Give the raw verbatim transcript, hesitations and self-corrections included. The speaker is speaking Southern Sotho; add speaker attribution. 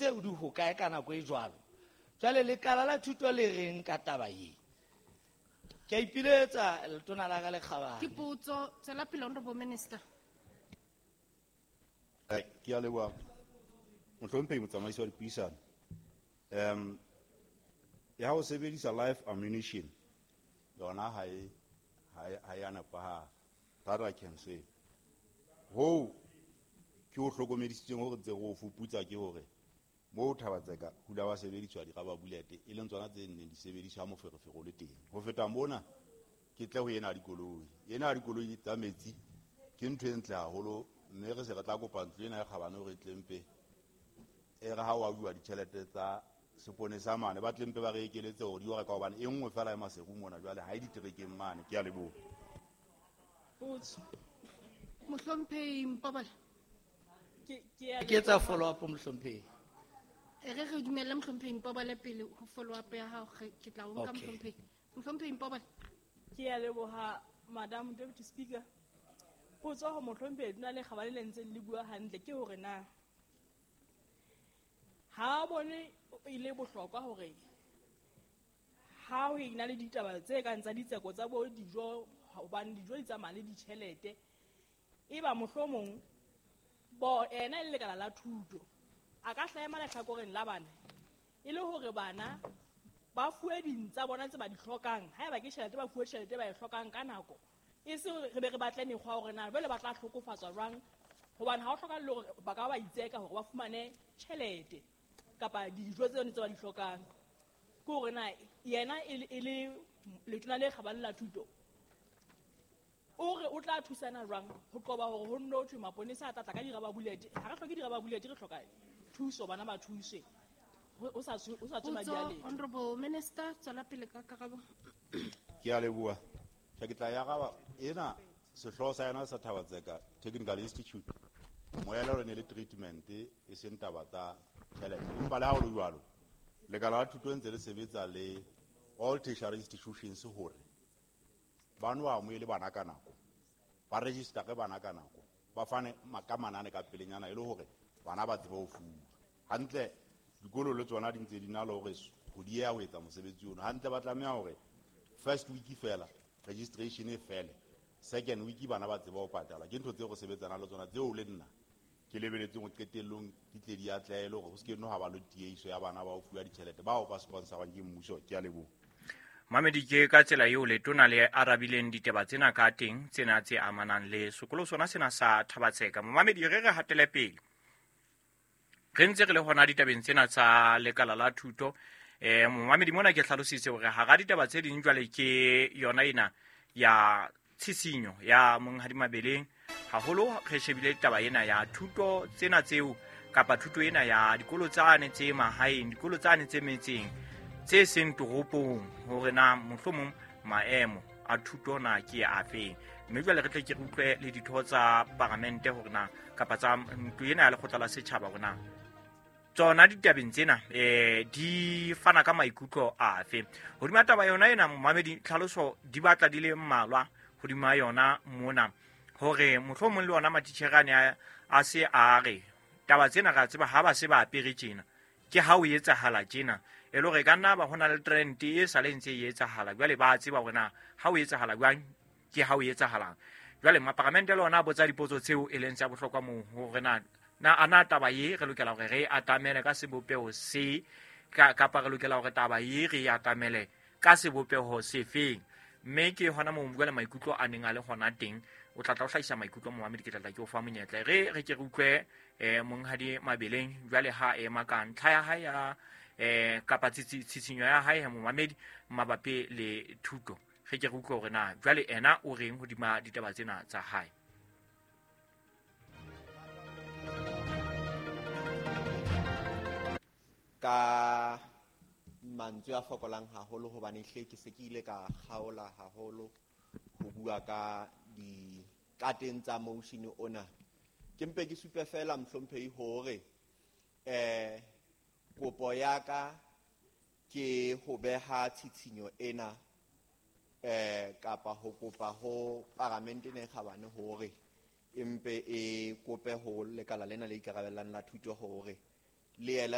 Speaker 1: tseo di hokae ka nako e jwalo. Jwale lekala la thuto le reng ka taba e? Ke a ipiletsa letona la ka le kgabane.
Speaker 2: Ke potso, tswela pele Honorable Minister.
Speaker 3: Ke a leboha mohlomphehi motsamaisi wa dipuisano. Um ya ho sebedisa live ammunition yona ha e ha e a nepahala. That I can say. Hoo ke ho hlokomedisitseng hore ntse re o fuputsa ke hore moo Thabatseka hula wa sebediswa di-rubber bullet e leng tsona tse neng di sebediswa moferefere o le teng. Ho feta mona ke tle ho ena ya dikoloi. Ena ya dikoloi tsa metsi ke ntho e ntle haholo, mme re se re tla kopa ntlo ena e kgabane hore e tle mpe e re ha o abuwa ditjhelete tsa seponesa mane ba tle mpe ba re ekeletse hore di o reka hobane e nngwe fela e Maseru mona jwale ha e diterekeng mane. Ke a leboha.
Speaker 2: Potso. Mohlomphehi Mpobole.
Speaker 4: Ke ke
Speaker 1: Ke etsa follow up mohlomphehi.
Speaker 2: E re re dumelle mohlomphehi Mpobole pele ho follow up ya hao, ke tla o nka mohlomphehi. Mohlomphehi Mpobole.
Speaker 4: Ke a leboha Madam Deputy Speaker. Potso ho mohlomphehi Letona le Kgabane le ntseng le bua hantle ke hore na ha bone e le bohlokwa hore ha ho ena le ditaba tse kang tsa ditseko tsa bo dijo, hobane dijo di tsamaya le ditjhelete, e ba mohlomong bo ena e le lekala la thuto a ka hlaema lehlakoreng la bana e le hore bana ba fuwe ding tsa bona tse ba di hlokang, haeba ke tjhelete ba fuwe tjhelete ba e hlokang ka nako, e se re be re batle mekgwa hore na jwale ba tla hlokofatswa jwang, hobane ha ho hlokahale hore ba ka ba itseka hore ba fumane tjhelete kapa dijo tse tse ba di hlokang. Ke hore na yena e le letona le kgabane la thuto o re o tla thusana jwang ho qoba hore ho nno thwe maponesa a tla tla ka di-rubber bullet. Ha re hloke di-rubber bullet, re hloka thuso, bana ba thuswe o sa o sa tswe madi a letho.
Speaker 2: Honorable Minister, tswela pele ka karabo.
Speaker 3: Ke a leboha. Ke tla ya araba ena sehlooho sa yona sa Thabatseka Technical Institute. Moelelo ne le treatment e seng taba tsa tjhelete. Empa le ha ho le jwalo, lekala la thuto ntse le sebetsa le all tertiary institutions hore ba no amohele bana ka nako, ba register-e bana ka nako, ba fane ka manane ka pelenyana e le hore bana ba tsebe ho fuwa. Hantle dikolo le tsona di ntse di na le hore ho dieha ho etsa mosebetsi ono. Hantle ba tlameha hore first week fela registration e fele, second week bana ba tsebe ho patala. Ke ntho tseo re sebetsanang le tsona tseo le nna ke lebeletseng ho qetellong di tle di atlehe le hore ho se ke no ha ba le tiehiso ya bana ba ho fuwa ditjhelete bao ba sponsorwang ke mmuso. Ke a leboha.
Speaker 5: Mamedi, ke ka tsela eo letona le arabileng ditaba tsena ka teng, tsena tse amanang le sekolo sona sena sa Thabatseka. Mamedi, re re hatele pele. Re ntse re le hona ditabeng tsena tsa lekala la thuto. Eh momamedi mona ke hlalositse hore hara ditaba tse ding jwale ke yona ena ya tshisinyo ya Monghadi Mabeleng, haholo re shebile taba ena ya thuto tsena tseo kapa thuto ena ya dikolo tsane tse mahaeng, dikolo tsane tse metseng tse seng toropong, hore na mohlomong maemo a thuto na ke afeng. Mme jwale re tle ke re utlwe le ditho tsa paramente hore na kapa tsa ntlo ena ya lekgotla la setjhaba hore na tsona ditabeng tsena eh di fana ka maikutlo afe hodima taba yona ena. Momamedi, tlhaloso di batla di le mmalwa hodima yona mona, hore mohlomong le ona matitjhere a ne a se a re taba tsena ra tseba ha ba se ba apere tjena ke ha o etsahala tjena, e le hore ka nna ba hona le trend e sa le ntse e etsahala jwale ba tseba hore na ha o etsahala jwang ke ha o etsahalang. Jwale maparamente le ona a botsa dipotso tseo e leng tsa bohlokwa moo hore na na ana taba ye re lokela hore re atamele ka sebopeho se kapa re lokela hore taba ye re atamele ka sebopeho sefeng. Mme ke hona moo jwale maikutlo a neng a le hona teng. O tla tla o hlahisa maikutlo momamedi, ke tla tla ke o fa monyetla. Re re ke re utlwe eh Monghadi Mabeleng jwale ha ema ka ntlha ya hae ya eh kapa tsitsinyo ya hae momamedi mabapi le thuto. Re ke re utlwe hore na jwale ena o reng hodima ditaba tsena tsa hae.
Speaker 6: Ka mantswe a fokolang haholo hobane hle ke se ke ile ka kgaola haholo ho bua ka dikateng tsa motion ona. Ke mpe ke supe fela mohlomphehi hore eh kopo ya ka ke ho beha tshitshinyo ena eh kapa ho kopa ho paramente ne kgabane hore empe e kope ho lekala lena le ikarabellang la thuto hore le ele